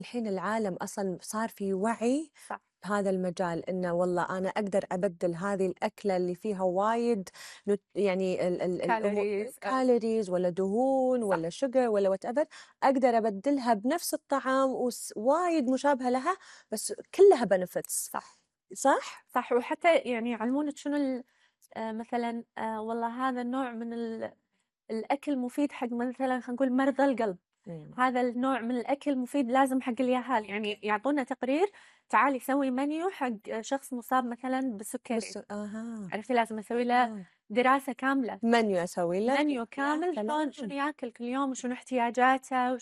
الحين العالم أصلا صار في وعي صح. بهذا المجال، إنه والله أنا أقدر أبدل هذه الأكلة اللي فيها وايد يعني كالوريز. كالوريز ولا دهون صح. ولا شجر ولا وات ايفر، أقدر أبدلها بنفس الطعام وايد مشابهة لها، بس كلها بنفتس. صح. صح؟ صح. وحتى يعني يعلمونك شنو مثلا والله هذا النوع من الأكل مفيد حق مثلا خلينا نقول مرضى القلب، هذا النوع من الأكل مفيد لازم حق اليهال، يعني يعطونا تقرير تعالي سوي منيو حق شخص مصاب مثلا بالسكري. عرفتي لازم أسوي له دراسة كاملة، منيو أسوي له، منيو كامل شنو ياكل كل يوم وشنو احتياجاته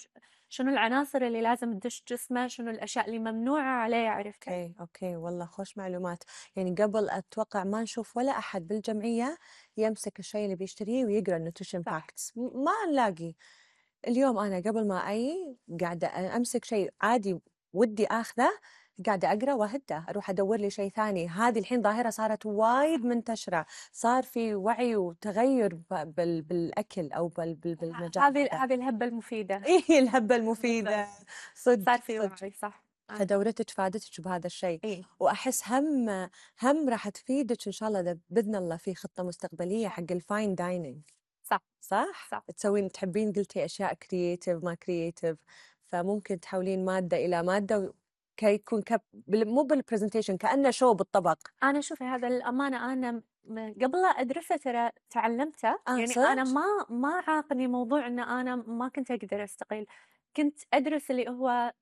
شنو العناصر اللي لازم تدش جسمه، شنو الأشياء اللي ممنوعة عليه. عرفتي؟ اوكي والله خوش معلومات. يعني قبل اتوقع ما نشوف ولا احد بالجمعيه يمسك الشيء اللي بيشتريه ويقرا النوتريشن فاكتس، ما نلاقي. اليوم انا قبل ما قاعده امسك شيء عادي ودي اخذه، قاعده اقرا واهده اروح ادور لي شيء ثاني. هذه الحين ظاهره صارت وايد منتشره، صار في وعي وتغير بالاكل او بالمجال هذه الهبة المفيدة. ايه الهبه المفيده. صدق صار في صدق. وعي. صح. فدورتك فادتك بهذا الشيء. إيه. واحس هم راح تفيدك ان شاء الله باذن الله في خطه مستقبليه حق الفاين دايننج. صح. صح؟ صح. تحبين قلتي اشياء كرييتيف ما كرييتيف، فممكن تحولين ماده الى ماده كي يكون مو بالبرزنتيشن كانه شو بالطبق. أنا شوفي هذا الأمانة أنا قبل لا أدرسه ترى تعلمته، يعني أنا صدق؟ ما عاقني موضوع إن أنا ما كنت أقدر أستقيل، كنت أدرس اللي هو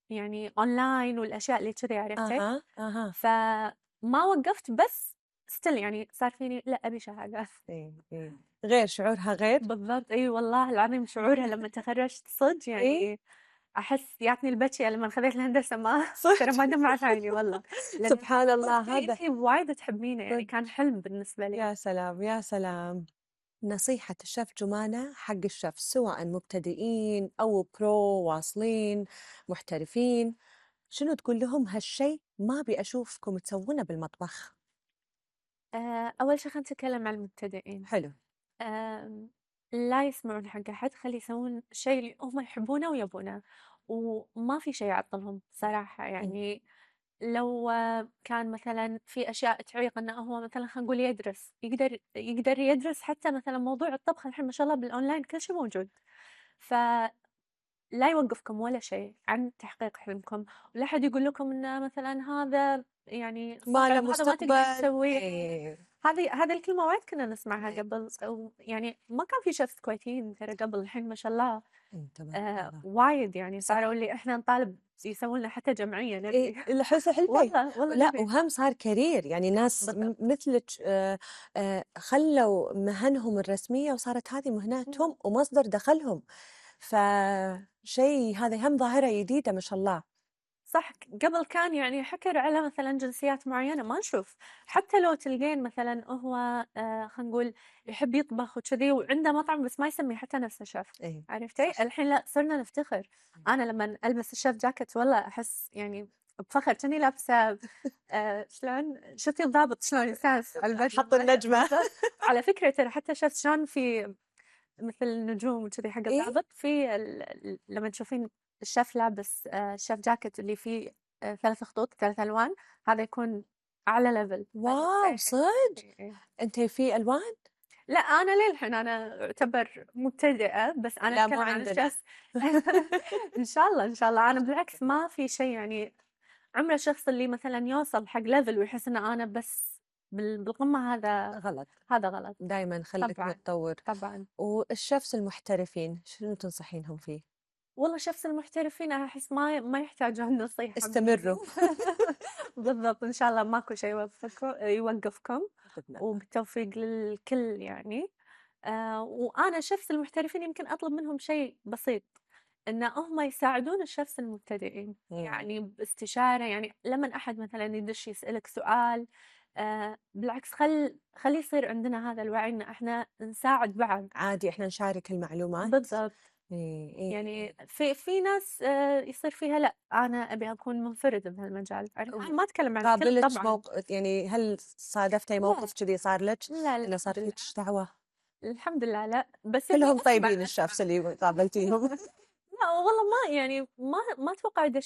يعني أونلاين والأشياء اللي كذي. عرفتي؟ اها. فما وقفت، بس ستيل يعني صار فيني لا أبي شهادة. إيه. غير شعورها غير. بالضبط. أي والله العظيم شعورها لما تخرجت صدق إيه؟ يعني أحس ياتني البكي لما خذيت الهندسة، ما ترى صدق. ما دمعت عيني والله. لأن سبحان الله هذا. أنتي وايد تحبينه، يعني صدق. كان حلم بالنسبة لي. يا سلام يا سلام. نصيحة الشيف جمانة حق الشيف سواء مبتدئين أو برو واصلين محترفين، شنو تقول لهم هالشيء ما أبي أشوفكم تسوونه بالمطبخ؟ أول شي خلينا نتكلم عن المبتدئين. حلو. لا يسمعون حق أحد، خلي يسوون الشيء اللي هم يحبونه ويبونه، وما في شيء يعطلهم صراحة. يعني لو كان مثلا في أشياء تعيق إنه هو مثلا خلينا نقول يدرس، يقدر يدرس حتى مثلا موضوع الطبخ الحين ما شاء الله بالأونلاين كل شيء موجود. فلا يوقفكم ولا شيء عن تحقيق حلمكم، ولا أحد يقول لكم إنه مثلا هذا يعني ما له صعب، هذا ما تقدر مستقبل. تسويه. إيه. هذه الكلمة وايد كنا نسمعها قبل، يعني ما كان في شيفs كويتيين ترى قبل، الحين ما شاء الله تبارك الله. وايد، يعني صح. صاروا اللي احنا نطالب يسوون لنا حتى جمعية إيه نبي. الحس حلفي. والله لا نبي. وهم صار كارير، يعني ناس بالضبط. مثلك خلوا مهنهم الرسمية وصارت هذه مهنتهم ومصدر دخلهم، فشيء هذا هم ظاهرة جديدة ما شاء الله. صح. قبل كان يعني حكر على مثلا جنسيات معينة ما نشوف، حتى لو تلقين مثلا هو خلينا نقول يحب يطبخ وكذي وعنده مطعم بس ما يسمي حتى نفسه شيف. إيه. عرفتي؟ الحين لا، صرنا نفتخر. أنا لما ألبس الشيف جاكيت والله أحس يعني بفخر، كأني لابسة شلون شفتي الضابط شلون يساس على البيت حط النجمة. على فكرة ترى حتى شفت شلون في مثل النجوم وكذي حق إيه. الضابط، في لما تشوفين الشيف لابس الشيف جاكيت اللي فيه 3 خطوط 3 ألوان، هذا يكون أعلى ليفل. واو صدق. أنت في ألوان؟ لا أنا للحين أنا أعتبر مبتدئة، بس أنا لا مو أتكلم عن عندنا. الشيف. إن شاء الله إن شاء الله. أنا بالعكس ما في شيء يعني عمره الشخص اللي مثلا يوصل حق ليفل ويحس إن أنا بس بالقمة، غلط. هذا غلط. دائما خليك طبعا. متطور. طبعا. والشيفs المحترفين شنو تنصحينهم فيه؟ والله شخص المحترفين أحس ما يحتاجون نصيحة استمروا. مني. بالضبط. إن شاء الله ماكو شيء يوقفكم، بإذن الله. وبالتوفيق للكل يعني. وأنا شخص المحترفين يمكن أطلب منهم شيء بسيط، إن هم يساعدون الشخص المبتدئين يعني باستشارة. يعني لما أحد مثلا يدش يسألك سؤال، بالعكس خلي يصير عندنا هذا الوعي إن إحنا نساعد بعض. عادي إحنا نشارك المعلومات. بالضبط. إيه إيه. يعني في ناس يصير فيها لا أنا أبي أكون منفردة بهالمجال. أنا ما أتكلم عن الكل قابلت طبعا. يعني هل صادفتي موقف كذي صار لك لا إنه صار الحمد لله. فيك دعوة؟ الحمد لله لا، بس يعني كلهم أسمع. طيبين الشافس اللي قابلتيهم. لأ والله ما يعني ما أتوقع دشيت